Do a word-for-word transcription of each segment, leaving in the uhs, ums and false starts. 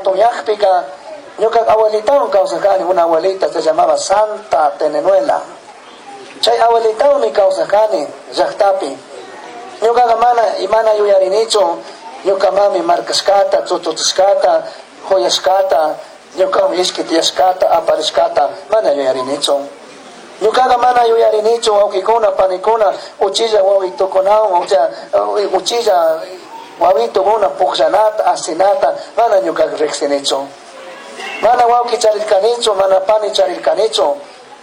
Hatunyajpika ñuka abuelitawan kawsarkani, una abuelita se llamaba Santa Tenenuela. Chay abuelitawanmi kawsarkani llaqtapi. Ñukaqa mana mana yuyarinichu ñuka mami markashkata, chuchuchishkata, huyashkata, ñukawan ishki tiyashkata, aparishkata, mana yuyarinichu. Ñukaqa mana yuyarinichu wawqikuna, panikuna, uchilla wawitukunawan, o sea, uchilla wawitukuna pukllanata, asinata, mana ñukaqa riqsinichu. Mana wawqi charirkanichu, mana pani charirkanichu,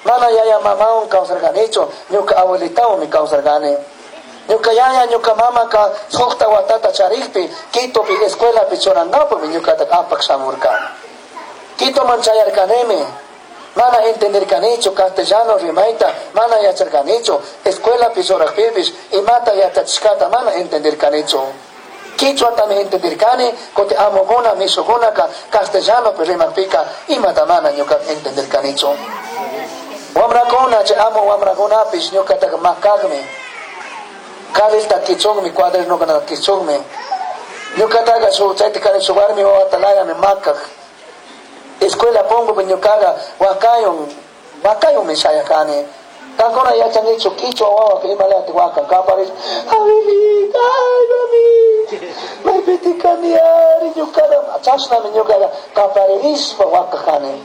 mana yaya mamawan kawsarkanichu, ñuka abuelitawanmi kawsarkani. Ñuka yaya, ñuka mamaka suqta watata charikpi, Quitopi escuelapi churankapumi ñukata apak shamurka. Quitoman chayarkanimi, mana entenderkanichu castellano rimayta, mana yacharkanichu, escuelapi churakpipish imata yachachishkata mana entenderkanichu. Quichuatami entenderkani, kuti amukuna, mishukunaka castellanopi rimakpika imata mana ñuka entenderkanichu. Wamrakuna, chay amu wamrakunapish ñukataka makakmi. Carrilta kichukmi, cuadernokunata kichukmi. Ñukataka shuk chayta kari shuk warmi wawata layami makak. Escuela punkupi ñukaqa wakayun, wakayunmi shayakani. Kankuna yachankichu quichua wawaka imalayata wakan kaparish, abuelita, ay mami, maypiti kani ari ñukaqa, chashnami ñukaqa kaparirishpa wakakani.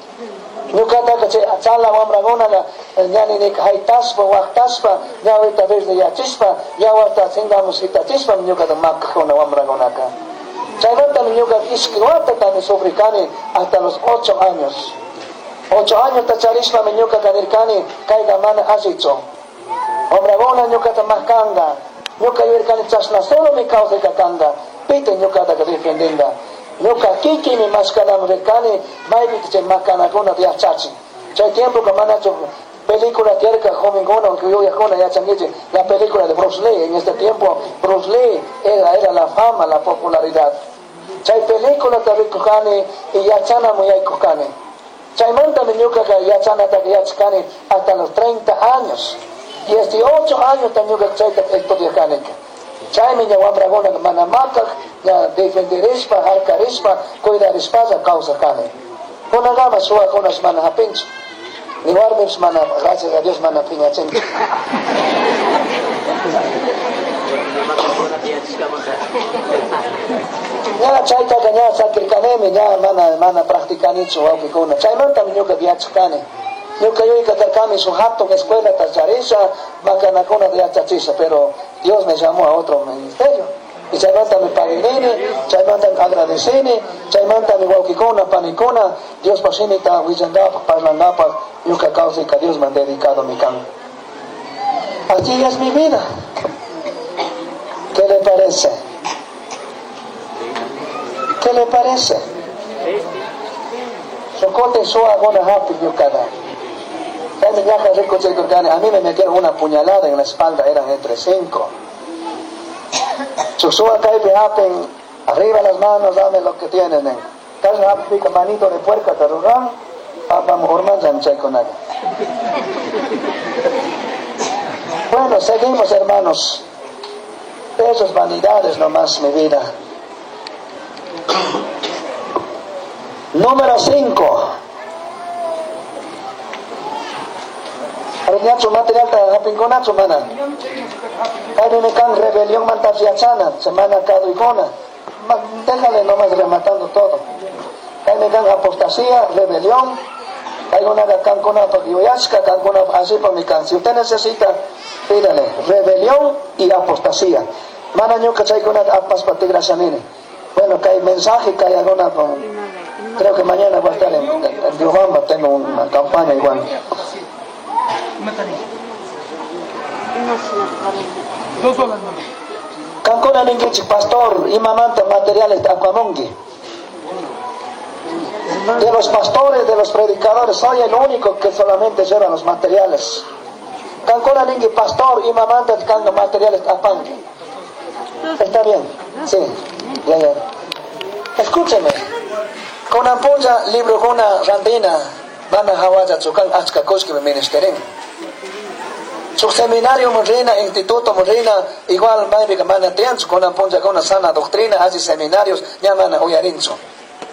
Ñukataka chay chala wamrakunaqa ñaninika haytashpa, waqtashpa, ñawita verdeyachishpa, yawarta singamus hitachishpa ñukata makakuna wamrakunaka. Chaymantami ñuka ishki watatami sufrikani hasta los ocho años. Ocho años tacharishpami ñukata nirkani kayqa mana allichu. Wamrakuna ñukata makanka, ñuka yuyarkani chashna solomi kawsayka kanka, pita ñukataka defendinka. Ñuka kikimi mashkanaman rirkani maypita chay makanakunata yachachin. Chay tiempoka manachu película tiyarka jovenkuna yuyakuna yachankichik la película de Bruce Lee. En este tiempo Bruce Lee era, era la fama, la popularidad. Chay película rikukani y yachanaman yaykukani. Chaymantami ñukaka yachanataka yachakani hasta los treinta años. dieciocho años ñuka chayta estudiarkanika. Chaymi ña wamrakuna mana makak, ña defenderishpa, harkarishpa, cuidarishpalla kawsarkani. Kunangama suwakunash mana hapinchu. Ni warmipish mana, gracias a Dios, mana piñachinchu. Ña chaytaka ña sakirkanimi, ña mana, mana practicanichu wawqikuna. Chaymantami ñuka yachakani. Ñuka yuyka karkani shuk hatun escuelata charisha, makanakunata yachachisha, pero Dios me llamó a otro ministerio. Y chaymantami paguinini, chaymantami agradecini, chaymantami wawqikuna, panikuna, Diospa shimita willankapaj, parlankapaj, ñuka kawsayka Diosman dedicado mi kan. Así es mi vida. ¿Qué le parece? ¿Qué le parece? Socote suwa gona hapi ñukada. A mí me metieron una puñalada en la espalda, eran entre cinco. Susuwa kaypi hapin, arriba las manos, dame lo que tienen. Tal hapi manito de puerca te ruran, vamos urman chaykunaqa. Bueno, seguimos, hermanos. Esas vanidades nomás, mi vida. Número cinco. Ñachu material ta hapinkunachu mana. Kaypimi kan rebelión mantapyachana, semana kaduykuna. Déjale nomás rematando todo. Kaymi kan apostasía, rebelión. Kaykunaqa kankunapaq yuyashka, kankunapaq asipami kan. Si usted necesita, pídale rebelión y apostasía. Mana ñuka chaykunata apaspa tigrashanini. Bueno, que hay mensaje, que hay alguna con... Creo que mañana voy a estar en, en Riobamba, tengo una campaña igual. Kankuna ninkichik pastor, imamanta materiales apamunki. De los pastores, de los predicadores, soy el único que solamente lleva los materiales. Kankuna ninki pastor, imamanta kanga materiales apanki. Está bien, sí, ya, ya. Escúcheme. Con ampolla, libro con una randina, van a hawacha chukan achka kushki me ministerin. Su seminario morrina, instituto morrina, igual maybe mana tianchu con ampolla con una sana doctrina, hace seminarios, ya mana uyarinchu.